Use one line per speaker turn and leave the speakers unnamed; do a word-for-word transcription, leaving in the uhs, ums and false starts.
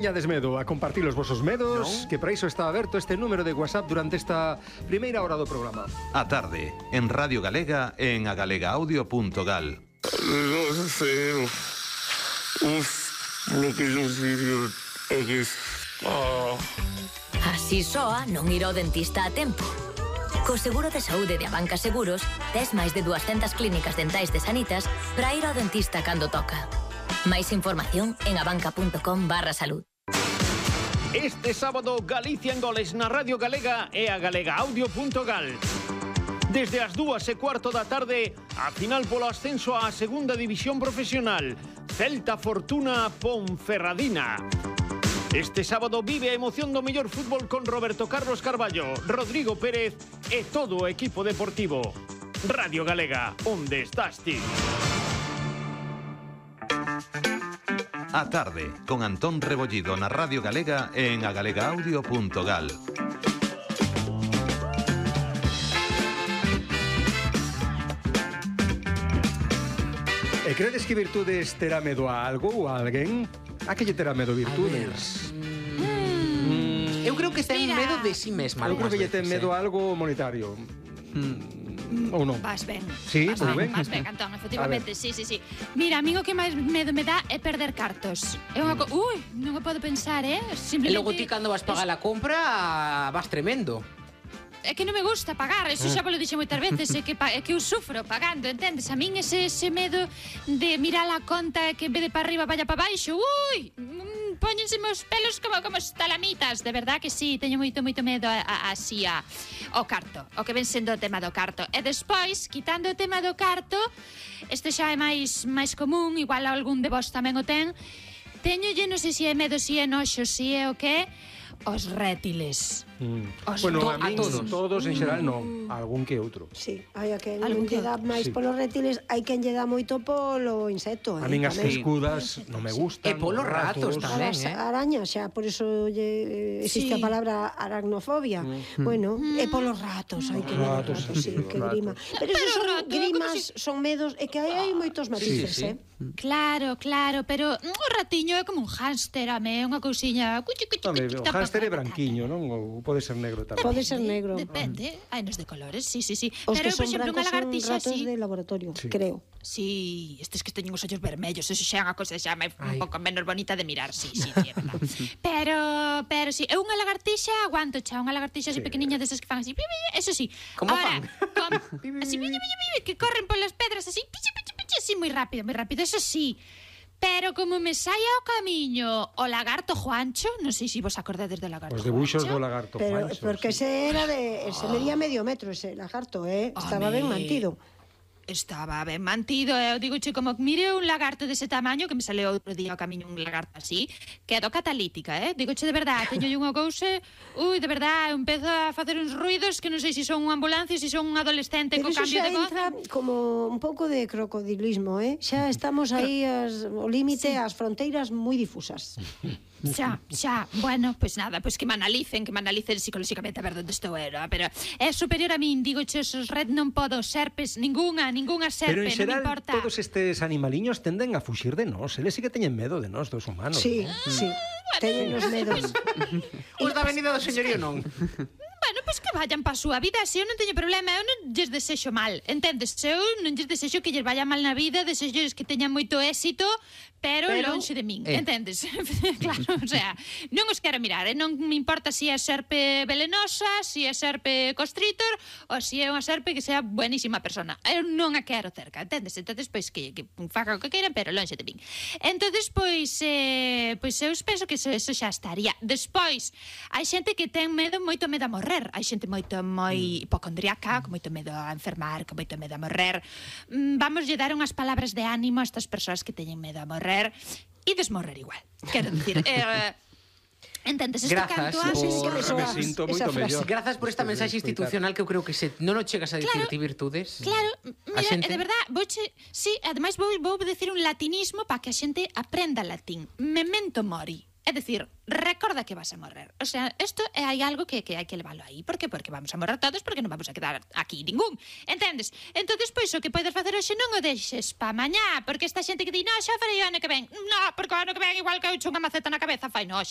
Teñades medo a compartir os vosos medos, no? Que para iso está aberto este número de WhatsApp durante esta primeira hora do programa.
A tarde, en Radio Galega e en agalegaaudio punto gal.
Non sei, uf, lo que non sei é que...
Así soa non ir ao dentista a tempo. Co seguro de saúde de Abanca Seguros, tes máis de duascentas clínicas dentais de Sanitas para ir ao dentista cando toca. Máis información en abanca punto com barra salud.
Este sábado, Galicia en goles na Radio Galega e a agalegaaudio punto gal. Desde as dúas e cuarto da tarde, a final polo ascenso á segunda división profesional. Celta Fortuna Ponferradina. Este sábado vive a emoción do mellor fútbol con Roberto Carlos Carballo, Rodrigo Pérez e todo o equipo deportivo. Radio Galega, onde estás ti?
A tarde, con Antón Rebollido na Radio Galega e en agalegaaudio punto gal.
E credes que Virtudes terá medo a algo ou a alguén? A que lle terá medo Virtudes?
Mm. Eu creo que ten
Mira.
medo de si mesma.
Eu creo que lle ten
veces,
medo
eh.
a algo monetario.
Mm.
Ou non?
Vas ben.
Sí,
vas
moi ben.
Vas ben, Antón, efectivamente, sí, sí, sí. Mira, a mí o que máis medo me dá é perder cartos. É unha co... Ui, non o podo pensar, eh?
E
Simplemente...
logo ti cando vas pagar a compra vas tremendo.
É que non me gusta pagar, eso xa vos lo dixe moitas veces, é que, pa, é que eu sufro pagando, entendes? A min ese, ese medo de mirar a conta que en vez de para arriba vaya para baixo, ui, mm, póñense meus pelos como, como estalamitas, de verdad que sí, teño moito, moito medo a, a, así a, ao carto, o que ven sendo o tema do carto. E despois, quitando o tema do carto, este xa é máis, máis común, igual algún de vos tamén o ten, teñolle, non sei se é medo, se é noxo, se é o que, os rétiles.
Mm.
Os
Bueno,
to-
a min,
a todos.
todos en xeral non, algún que outro.
Sí, hai a quen
Algún
lle
que
dá
outro.
máis
Sí.
polos reptiles, hai quen lle dá moito polo insecto,
A
eh,
min as
tamén.
escudas non me gustan.
E polos ratos tamén.
As
eh.
arañas, xa, por eso lle, existe
Sí.
a palabra aracnofobia. Bueno, e polos ratos, hai que ver os
Ratos,
ratos, sí,
sí,
que
ratos.
grima. Pero esos
Pero
son
rato,
grimas,
como
son medos, e que hai, hai moitos matices,
sí.
eh?
Claro, claro, pero mm, o ratiño é como un hámster, ame, unha cousiña... cuchi, cuchi,
Home,
cuchi,
o
tapa,
hámster é
tapa,
branquiño, non? Ou pode ser negro tamén.
Pode ser negro.
Depende, hai nos de colores, sí, sí, sí.
Os
Pero,
que
por
son
exemplo, unha
brancos son
lagartixa
ratos
así...
de laboratorio,
Sí.
creo.
Sí, estes que teñen os ollos vermellos, eso xa é unha cousa xa máis- un
Ai.
pouco menos bonita de mirar, sí, sí, sí, é verdad. Pero, pero sí, é unha lagartixa, aguanto xa, unha lagartixa así
Sí.
pequeniña desas que fan así, pi, pi, eso sí.
Como
Ahora,
fan?
com, así, pi, pi, pi, pi, que corren polas pedras así, pi, pi, pi, pi, así moi rápido, moi rápido, eso sí. Pero como me saia ao camiño o lagarto Juancho, non sei se vos acordades do lagarto
Os debuxos do
Juancho.
lagarto
Pero
Juancho,
porque
sí.
ese era de, ese medía medio metro ese lagarto, eh? Estaba ben
Home.
mantido.
Estaba ben mantido, eu digo che, como mire un lagarto dese tamaño que me sale outro día ao camiño un lagarto así, quedo catalítica, eh? Digo che, de verdade, teño unha cousa, ui, de verdade, empezo a facer uns ruidos que non sei se son unha ambulancia, se son un adolescente
Pero
co
eso
cambio
xa
de voz.
entra como un pouco de crocodilismo, eh? Xa estamos aí as, o límite, as fronteiras moi difusas.
Xa, xa, bueno, pois pues nada, pois pues que me analicen, que me analicen psicolóxicamente a ver onde estou eu, pero é superior a min, digo che, os red non podo, serpes, ninguna, ninguna
Pero
serpe,
en xeral,
non me importa.
todos estes animaliños tenden a fuxir de nós. Eles sí que teñen medo de nós, dos humanos.
Sí, sí. Teñen os medos.
Os da Avenida do Señorío non.
Bueno, pois que vayan pa súa vida, se eu non teño problema, eu non lles desexo mal, entendes? Se eu non lles desexo que lles vaya mal na vida, desexo que teñan moito éxito, pero,
Pero-
lonxe de min,
eh.
entendes? Claro, o sea, non os quero mirar, eh? Non me importa se é serpe velenosa, se é serpe constrictor, ou se é unha serpe que sea buenísima persona. Eu non a quero cerca, entendes? Entonces, pois, que, que faga o que queiran, pero lonxe de min. Entonces, pois, eh, pois eu penso que eso, eso xa estaría. Despois, hai xente que ten medo, moito medo a morrer. Hai xente moito, moi hipocondriaca, con moito medo a enfermar, con moito medo a morrer. Mm, Vamos lle dar unhas palabras de ánimo a estas persoas que teñen medo a morrer e desmorrer igual. Quero dicir, eh, entendes, isto
Grazas
canto
Ah, sí,
antes...
sí, que me
Me
soa
sinto
esa
moito
frase.
mellor.
Grazas por esta
Despois de
mensaxe
escoitar.
institucional que eu creo que se non o chegas a dicir
Claro.
ti virtudes.
Claro, mira,
xente-
e de verdad, vouche, sí, ademais vou, vou decir un latinismo para que a xente aprenda latín. Memento mori. É dicir, recorda que vas a morrer. O sea, isto é hai algo que, que hai que leválo aí. Por que? Porque vamos a morrer todos, porque non vamos a quedar aquí ningún. Entendes? Entón, pois, o que podes facer hoxe non o deixes pa mañá, porque esta xente que di, no, xa farei o ano que ven. No, porque o ano que ven igual que eu echo unha maceta na cabeza, fai no hoxe.